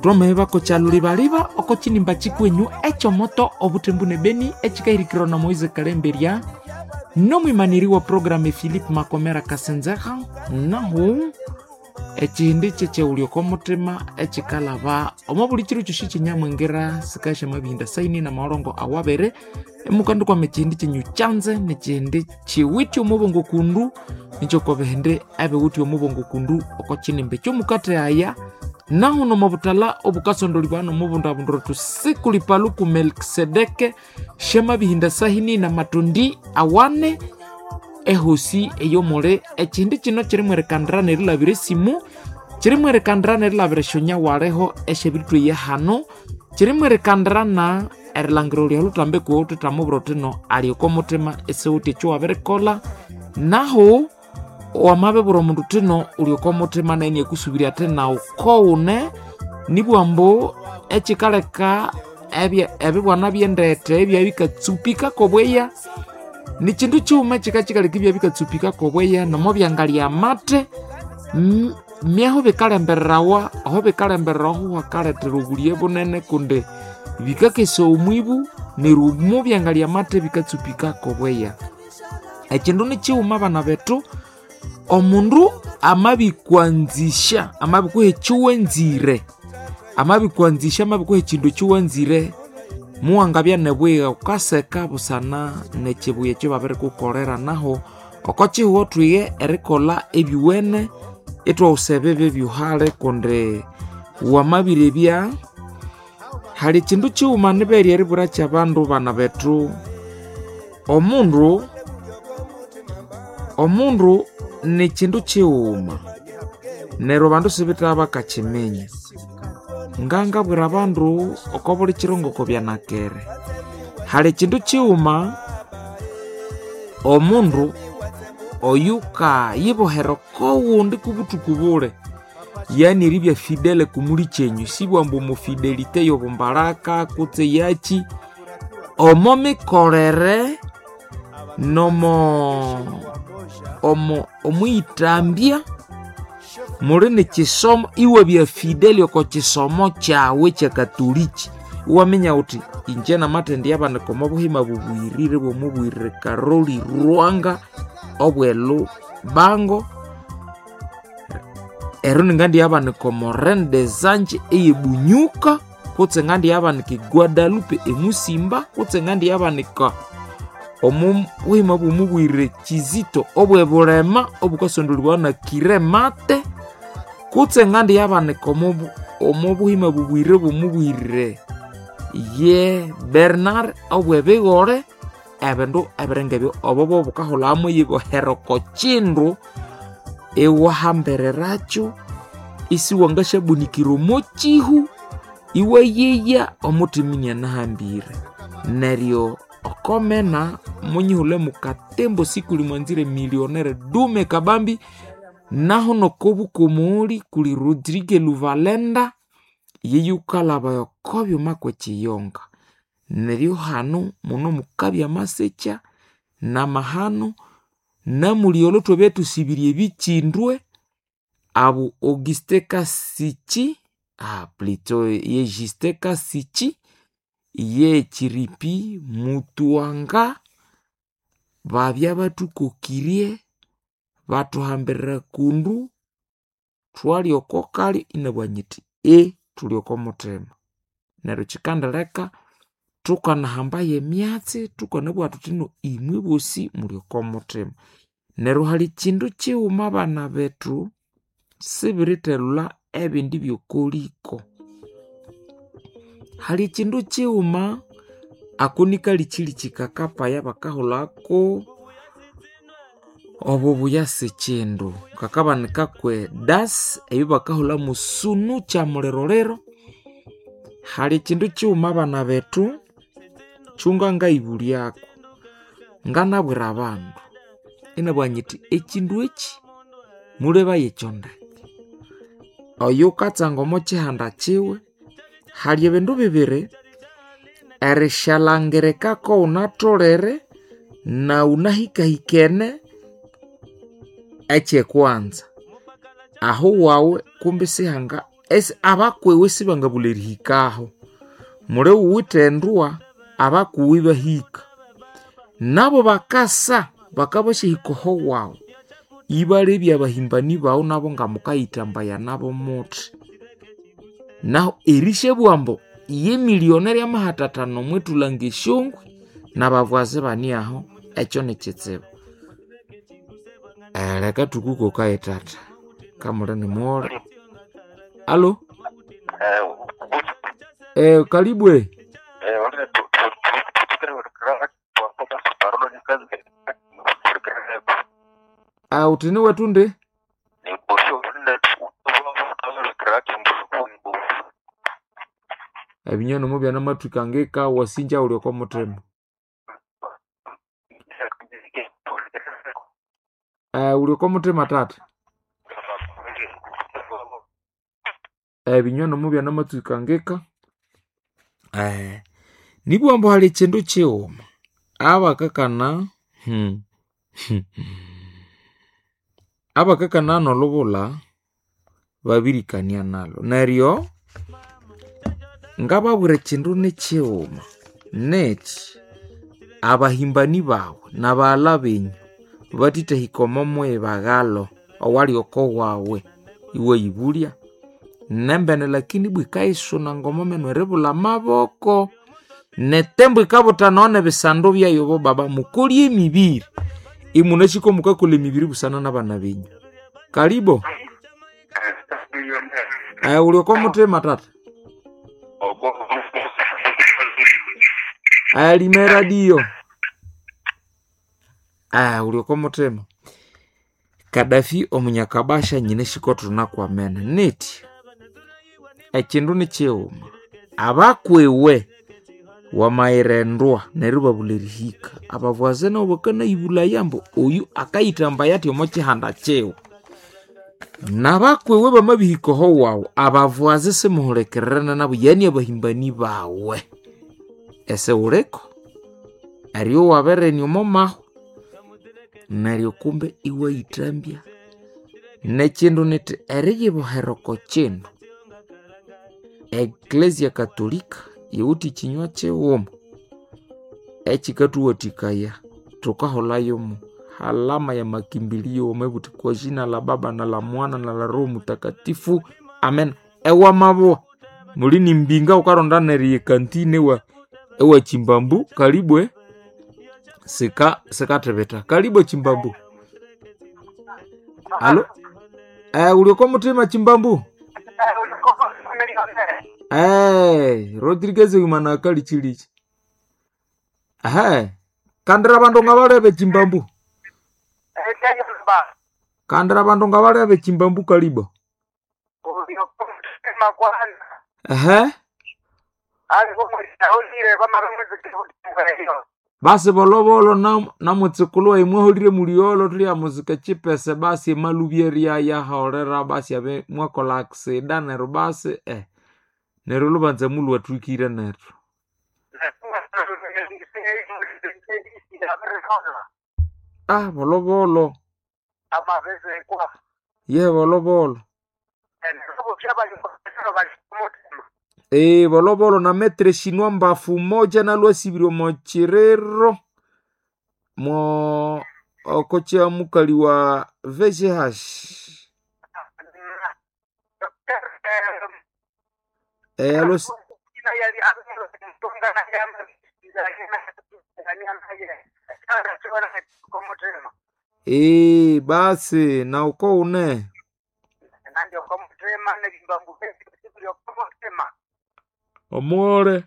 Twamahebako kyalulibaliba oko kinimba kikwenyu ekyomoto obutembu ne beni ekikahirikirwa na Moise Kalemberia nomwimaniri wa programu Philip Makomera Kasenzeha. Nahu ekihindi kyekyewulya oko mutima ekikalaba omo buli kiro kyosi kyenyamwingira sikasya mabihinda saini na maolongo awabere emukandi kwama ekihindi kyenyu kyanze nekihindi kiwithe omubongo kundu nikyo kwabihindi ebiwithe omubongo kundu oko kinimba ekyomukathe aya. Nahu nomobutala obukasondolibwa nomubundabundiro tusikulipaluku Melkisedeke syamabihinda sahini na matundi awane ehosi eyomuli ekihindi kino kirimwerekandira nerilabira esimu, kirimwerekandira nerilabira esyonya waleho esyabiritweya hano, kirimwerekandira na erilangira olya olutambi kuwu thuthamubwira uthi no ali oko mutima esiwuthi ekyo wabirikolha. Nahu wamabibwira omundu uthi no uli oko mutima nayu iniakusubirya athi nawu kowune. Nibugha ambu ekikaleka ebibwana byendete ebyabya bikatsupika kobweya nikindu kighuma ekikakikaleka ibyabya bikatsupika kobweya nomo byangalya amate myahu bikalembererawa aho bikalembererawa aho hakalethera obulye bunene kundi bikakesya omwibu neryo omo byangalya amate bikatsupika kobweya. Ekindu nikighuma abana bethu, omundu amabikwanzisya amabikuha ekyowanzire, amabikwanzisya amabikuha ekindu ekyowanzire, muwangabya nobuyigha wukaseka busana nekibuya ekyobabirikukolera. Nahu oko kihugho thwiye erikolha ebyuwene ithwawusa ebibi byuhali kundi wamabirebya hali ekindu kighuma nibere eribwira kyabandu bana bethu, omundu nikindu kighuma neryo abandu sibitha bakakiminya. Ngangabwira abandu oko buli kiro ngoko byanakere, hali ekindu kighuma omundu oyukayibohera okowundi kubuthuku bule, yani eribya fidele kumuli kyenyu, sibugha ambu omufidelite yobumbalaka kutse yaki, omo mikolere nomo omwiyithambya muli nekisomo, iwabya fidele oko kisomo kyawu ekyakatoliki. Iwaminya wuthi inje namathendyabanika omo buhima bubuyirire bwomubwirire Karoli Lwanga obw'elubango, ero ningandyabanika omo Reine des Anges eyebunyuka, kutse ngandyabanika e Guadalupe emusimba, kutse ngandyabanika omo buhima bwomubwirire Kizito obw'ebulema obukasondolibwa na Kiremate, kutse ngandyabanika omo buhima bubwirire bwomubwirire ye Bernard obw'ebigore. Ebindu ebiringa ebyo obo bobukaholhamu iyibohera oko kindu iwahambirerakyo isiwangasyabunikira omo kihu iwayeya omuthima inianahambire. Neryo okomena munyihulhe mukatembo sikuli mwanzire millionaire dume kabambi. Nahu nokobukomooli kuli Rodrigue Luvalenda yeyukalhabaya oko byuma kwekiyonga. Neryo hanu muno mukabya amasikya namahano namuli olho thwabya thusibirye ebikyindwe abu Auguste Kasichi plutôt ye Justin Kasichi ye Chiripi Mutuanga babya bathukokirye bathuhambirira kundu thwalya oko kalyo inabugha nyithi thuli oko muthima. Neryo kyikandileka thukanahambayo emyatsi thukanabugha thuthi no imwe bosi muli oko muthima. Neryo hali kindu kighuma abana bethu sibirithelhulha ebindi byokoliko. Hali kindu kighuma ako nikalikyiliky kakapaya bakahulhako obubuya sikindu kakabanika kwe das eyo bakahulha musunu kyamuliroliro. Hali kindu kighuma abana bethu kyungangayibulyako, nganabwira abandu inabugha nyithi ekindu eki mulebaye ekyo ndeke. Oyukatsanga omo kihanda kiwe hali ebindu bibiri, erishalangirika kowunatholere nawunahikahikene ekyekwanza ahu wawe kumbi sihanga Esi abakwewe sibangabulha erihikaho. Muli wuwithe endwa abakuwe ibahika. Nabo bakasa bakabasyahika oho wawu ibalebya abahimbani bawu nabo ngamukayithambaya nabo muthi. Nahu erisyabugha ambu ye millionaire amahathathana omwithulanga esyongwe nabavwazi ibane aho, ekyo nikitsibu. Leka thukukokaye thatha kamuli nimughole. Allo? Kalibwe. Uthi niwethu ndi? Ebinywa mubyanamatwika ngeka wasinja wuli oko muthima. Wuli oko muthima thatha. Ebinywa mubyanamatwika ngeka. Nibugha ambu hali ekyindu kighuma abakakana abakakana nolubulha babirikania nalhu. Neryo ngababwira ekyindu nikighuma nekyi abahimbani bawu nabaghalha benyu bathithahika omo muyibaghalo owali oko wawe iwayibulya nembene lakini ibwa yikayisuna ngomomenu eribulha amaboko netembo yikabuthanawa nebisandu byayo bobaba mukolye emibiri imunasiko mukakolha emibiri busana nabana benyu. Kalibo. Wuli oko muthima thatha. Lima eradio. Wuli oko muthima. Kadafi omunyakabasha nyinasiko thunakwamene nithi ekyindu nikighuma abakwiwe wamayirendwa neryo ibabulha erihika abavwazi nabo bakanayibulaya ambu oyu akayithambaya athi omo kihanda kiwe. Nabakwiwe bamabihika oho wawu abavwazi simuhulikirira nabo yani abahimbani bawe. Esiwuliko eryo wabirirenia omo mahwa neryo kumbe iwayithambya. Nekyindu nithi eriyibohera oko kyindu Ecclesia Katolika yiwithe ekinywa kighuma ekikathuwathikaya thukaholhayomo halama ya makimbilio omo kwa jina la Baba na la Mwana na la Roho Mutakatifu amen. Ewamabugha muli nimbinga wukaronda neryo ekantine ewa Chimbambu kalibwe sikathibitha. Kalibwe Chimbambu. Allo? Wuli oko muthima Chimbambu? Rodriguez wimana akalikyilichi. Kandira abandu ngabalebe Chimbambu. Kandira abandu ngabalebe Chimbambu kalibo. Basi bolobolo namutsukulhu wayi mwaholire mulyolho thulyamusika kyipese basi emalubya eryayaholera basi abe mwakolha aksida neryo basi neryo olhubanza mulhwathwikire nethu. Bolobolo. Ye bolobolo. Bolobolo na metre shinwa mbafu moja nalwasibire omo kiriro mwo oko kya mukali wa VGH. Basi na uko une. Omughole.